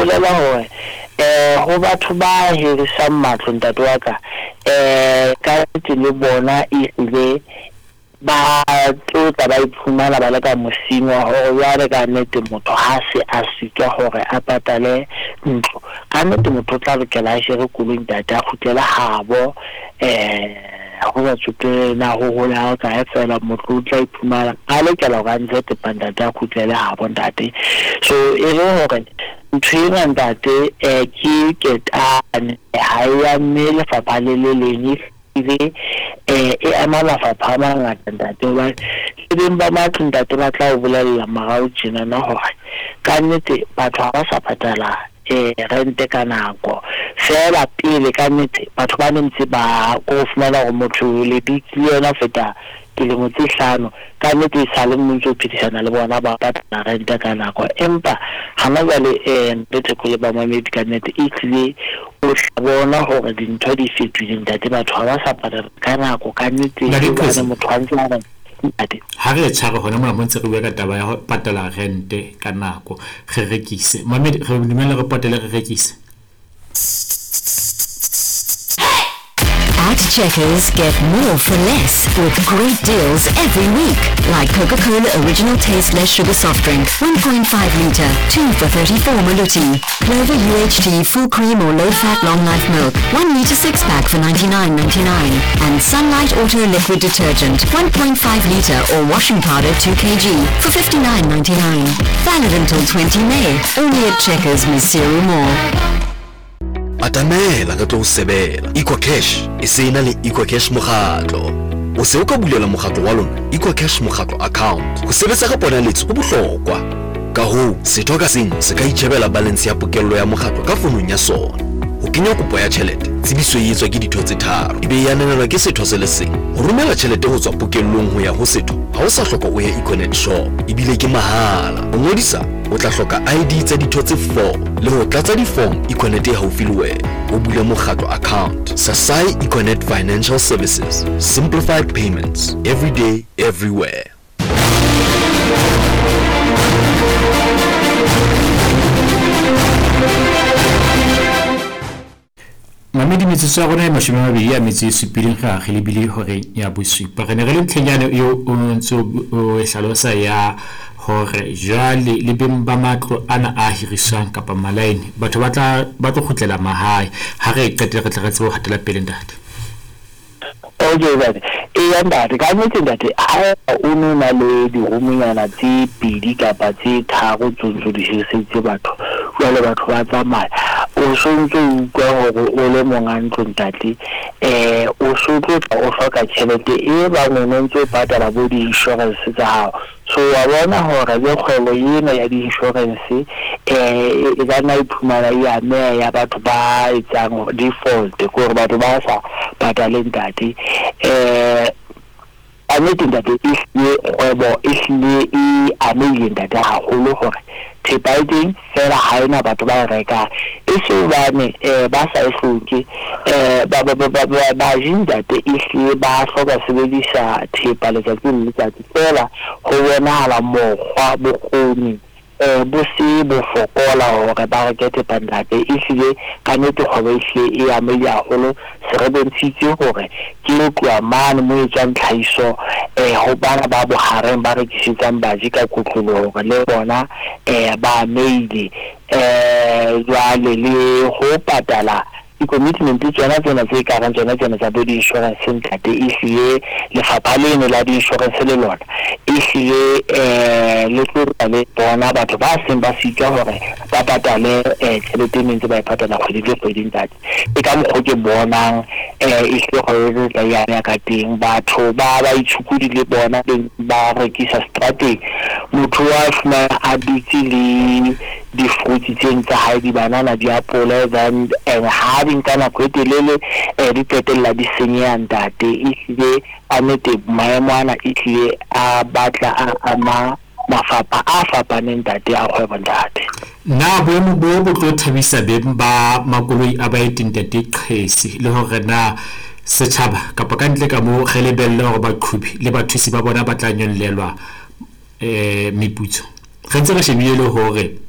bolela hore um ho batho ba hirisang matlo ntate wa ka um ka nnete le bona ehlile ba tlo tla ba iphumana ba le ka mosing wa hore jwale ka nnete motho ha se a sitwa hore a patale ntlo, ka nnete motho o tla lokela a jere koloi ntate a kgutlele habo um ho sa tsotelle na ho hole ha kae fela motho o tla iphumana a lokela hore a ntshe thepa ntate a kgutlele habo ntate. So e le hore ntho ena ntate um ke ketane ha e amme lefapha le le leng ebile e ama mafapha a mangata ntate hobane le beng ba matlo ntate ba tla o bolella morao tjenana hore ka nnete batho ha ba sa patala rente ka nako. Feela pele ka nnete batho ba ne ntse ba ko fumana hore motho le dutse le yena ho feta dilemo tse hlano, ka nnete e sale o ntso phedisana le bona ba patala rente ka nako. Empa hana jwale Ntate Theko le bamamedi ka nnete ehlile o tla bona hore dintho di fetohile ntate, batho ha ba sa patala ka nako ka nnete Ntate hobane motho a ntse a re ntate. Ha re e tshware hona mona mo ntse re bua ka taba ya ho patala rente ka nako, re rekise. Mamedi, re dumelle re potele re rekise. At Checkers, get more for less with great deals every week. Like Coca-Cola Original Taste Less Sugar Soft Drink, 1.5 litre, 2 for 34 Maluti. Clover UHT Full Cream or Low Fat Long Life Milk, 1 litre 6 pack for 99.99. And Sunlight Auto Liquid Detergent, 1.5 litre or washing powder 2 kg for 59.99. Valid until 20 May, only at Checkers, Maseru Mall. Atamela re tlo o sebela. EcoCash e se e na le EcoCash Mokgatlo. O se o ka bulela mokgatlo wa lona EcoCash Mokgatlo account. Ho sebetsa ka ponaletso ho bohlokwa. Ka hoo, setho ka seng se ka itjhebela balance ya pokello ya mokgatlo ka fonong ya sona. Ho kenya kopo ya tjhelete, tsebiso e etswa ke ditho tse tharo, e be e ananelwa ke setho se le seng. Ho romela tjhelete ho tswa pokellong ho ya ho setho ha o sa hloka o ye Econet shop, ebile ke mahala. Ho ngodisa, o tla hloka ID tsa ditho tse four le ho tlatsa di-form Econet e haufi le wena. O bule mokgatlo account. Sasai Econet Financial Services, simplified payments, every day, everywhere. Mamedi, metsotso ya rona e 27 re a re lebile horeng ya bosupa. Re ne re le ntlheng yane eo o ntse o e hlalosa ya hore jwale le beng ba matlo ana a hiriswang kapa malaene batho ba tla ba tlo kgutlela mahae. Ha re e qetile re tle re tsebe ho hatela pele ntate. Okay ntate, eya ntate, ka nnete ntate ha o no na le dirumonyana tse pedi kapa tse tharo tse ntso di hiriseditse batho, jwale batho ba tsamaya, o so ntso utlwa hore o le monga ntlo ntate, o so tlo tla o hloka tjhelete e bang o no ntso patala bo di-insurance tsa hao. So wa bona hore le kgwebo ena ya di-insurance e ka nna iphumana e ameha ya batho ba etsang default, ke hore batho ba sa patale ntate. Ka nnete ntate ehlile kgwebo ehlile e amehile ntate haholo hore thepa e teng fela ha ena batho ba e rekang. E se hobane ba sa e hloke, baji ntate ehlile ba hloka sebedisa thepa letsatsi le letsatsi, fela ho bonahala mokgwa bokgoni bo se bo fokola hore ba reke thepa ntate. Ehlile ka nnete kgwebo ehlile e amehile haholo. Se re bontshitse hore ke ho tloha mane mo etswang tlhahiso ho bana ba bohareng ba rekisetsang baji ka kotloloho hore le bona ba amehile. Jwale le ho patala di-commitment tsona tsena tse kareng tsona tsena tsa bo di-insurance ntate, ehlile lefapha leno la di-insurance le lona ehlile le tlo tla le bona batho ba seng ba sitwa hore ba patale tjhelete e ne ntse ba e patala kgwedi le kgwedi ntate. Ke ka mokgo ke bonang ehlile kgwebo e tla e ameha ka teng. Batho ba ba itshukudi le bona beng ba rekisa seterateng, motho wa fumana a dutse le di-fruits tseno tsa hae, dibanana, diapole, then and ha di nka nako e telele di qetella di senyeha ntate. Ehlile ka nnete maemo ana ehlile a batla a ama mafapha a fapaneng ntate a kgwebo ntate. Na boemo bo bo tlo thabisa beng ba makoloi a baeti ntate Qhesi, le hore na setjhaba kapa ka ntle ka moo re lebelle hore baqhubi le bathusi ba bona ba tla nyollelwa meputso? Re ntse re shebile le hore